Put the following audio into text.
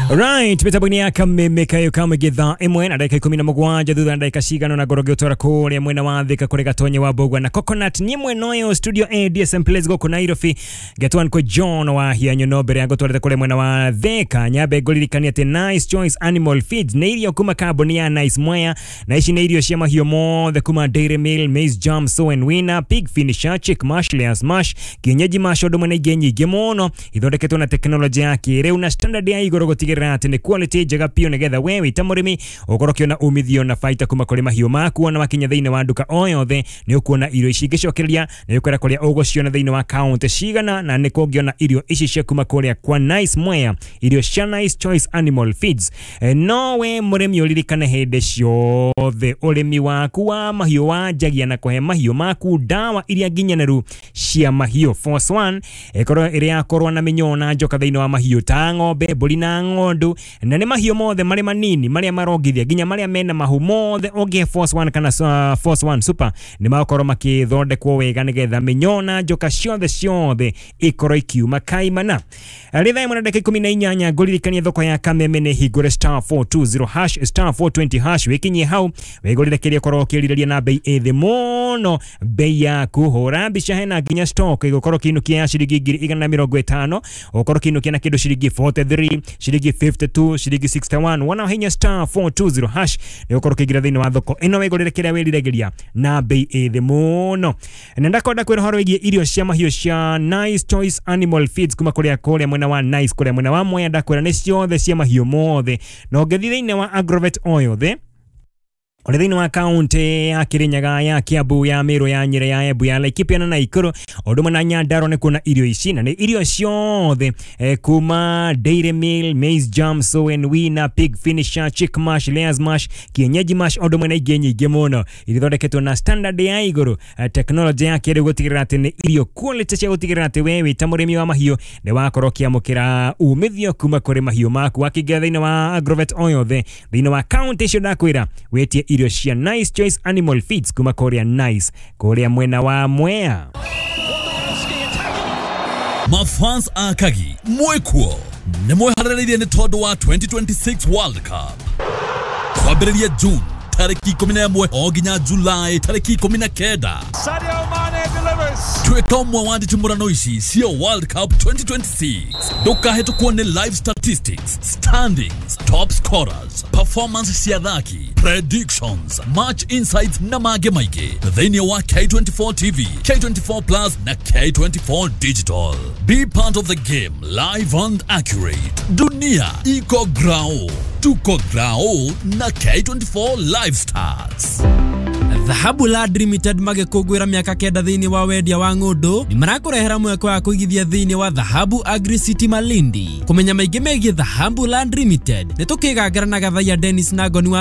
Right, mitambo-inĩ ya Kameme kayo kamũingĩ thaa 1 na ndagĩka 17 thutha na ndagĩka cigana na ngoro ngĩũtwara kũrĩa mwena wa Thika kũrĩ Gatonye wa Mbũgua na Coconut niĩ mwena ũyũ studio A DSM Place gũkũ Nairobi Getwan kwĩ John wa Hianyo. Mbere ya ngũtwarĩte kũrĩa mwena wa Thika, nyambe ngũririkania atĩ Nice Choice Animal Feeds nĩ irio kuma kambuni ya Nice Mwea, na ici nĩ irio cia mahiũ mothe kuma Dairy Meal, Maize Jam, Sow and Winner, Pig Finisher, Chick Mash, Layers Mash, Kienyeji Mash, ũndũ ũmwe na ingĩ nyingĩ mũno ithondeketwo na tekinoronjĩ ya kĩrĩu na standard ya igũrũ gũtigĩrĩra atĩ nĩ quality njega biũ, nĩgetha we wĩ ta mũrĩmi ũkorwo ũkĩona umithio na baita kuma kũrĩ mahiũ maku. Ona wakinya thĩinĩ wa nduka o yothe nĩ ũkuona irio ici. Ingĩcokereria nĩ ũkwĩra kũrĩa ũgũciona thĩinĩ wa kaunti cigana na nĩ kũngĩona irio ici cia kuma kũrĩa kwa Nice Mwea, irio cia Nice Choice Animal Feeds. No we mũrĩmi ũririkane hĩndĩ ciothe ũrĩmi waku wa mahiũ wanjagia na kũhe mahiũ maku ndawa iria nginyanĩru cia mahiũ. Force One ĩkorwo ĩrĩ ya kũrũa na mĩnyoo na njoka thĩinĩ wa mahiũ ta ng'ombe, mbũri na ng'ondu, na nĩ mahiũ mothe marĩ manini marĩa marongithia nginya marĩa mena mahu mothe. Ũngĩhe Force One kana Force One Super, nĩ magũkorwo makĩthondekwo wega nĩgetha mĩnyoo na njoka ciothe ciothe ikorwo ikiuma kaimana. Rĩ thaa 1 na ndagĩka 18, ngũririkania thoko ya Kameme nĩ hingũre, *420#, *420# wĩkinyie hau wĩgũrĩre kĩrĩa ũkorwo ũkĩrirĩria na bei ĩ thĩ mũno. Bei yaku hũra mbica, hena nginya stock ĩgũkorwo kĩinũkia ya ciringi 150,000, ũkorwo kĩinũkia na kĩndũ ciringi 43, ciringi 52, ciringi 61. Wona hinya *420# nĩ ũkorwo ũkĩingĩra thĩinĩ wa thoko ĩno wĩgũrĩre kĩrĩa wĩriragĩria na bei ĩ thĩ mũno. Na ndakwenda kwĩra ũhoro wĩgiĩ irio cia mahiũ cia Nice Choice Animal Feeds kuma kũrĩa mwena wa Nice, kũrĩa mwena wa Mwea. Ndakwĩra nĩ ciothe cia mahiũ mothe, na ũngĩthiĩ thĩinĩ wa agrovet o yothe ũrĩ thĩinĩ wa kaunti ya Kirinyaga, ya Kiambu, ya Meru, ya Nyeri, ya Embu, ya Laikipia na Nakuru, ũndũ ũmwe na Nyandarua, nĩ kuona irio ici, na nĩ irio ciothe kuma Dairy Meal, Maize Jam, Sow and Winner, Pig Finisher, Chick Mash, Layers Mash, Kienyeji Mash, ũndũ ũmwe na ingĩ nyingĩ mũno ithondeketwo na standard ya igũrũ, tekinoronjĩ ya kĩrĩu gũtigĩrĩra atĩ nĩ irio quality cia gũtigĩrĩra atĩ we wĩ ta mũrĩmi wa mahiũ nĩ wakorwo ũkĩamũkĩra umithio kuma kũrĩ mahiũ maku. Wakĩingĩra thĩinĩ wa agrovet o yothe thĩinĩ wa kaunti icio ndakwĩra, wĩtie irio cia Nice Choice Animal Feeds kuma kũrĩa Nice, kũrĩa mwena wa Mwea. Mafans a Kagi mwĩkuo nĩ mwĩharĩrĩirie nĩ tondũ wa 2026 World Cup kwambĩrĩria June tarĩki 11 o nginya July tarĩki 19. Sadio Mane delivers. Tuĩka ũmwe wa nditimũrano ici cia World Cup 2026. Ndũkahĩtũkwo nĩ live statistics, standings, top scorers, performance cia athaki, predictions, match insights na mangĩ maingĩ thĩinĩ wa K24 TV, K24 Plus na K24 Digital. Be part of the game, live and accurate. Dunia iko grao, tuko grao na K24 Live Stars. Dhahabu Land Limited magĩkũngũĩra mĩaka 9 thĩinĩ wa wendia wa ng'ũndũ nĩ marakũrehera mweke wa kũigithia thĩinĩ wa Dhahabu Agri City Malindi. Kũmenya maingĩ megiĩ Dhahabu Land Limited nĩ tũkĩgangara na Gathaiya Dennis na Ngoni wa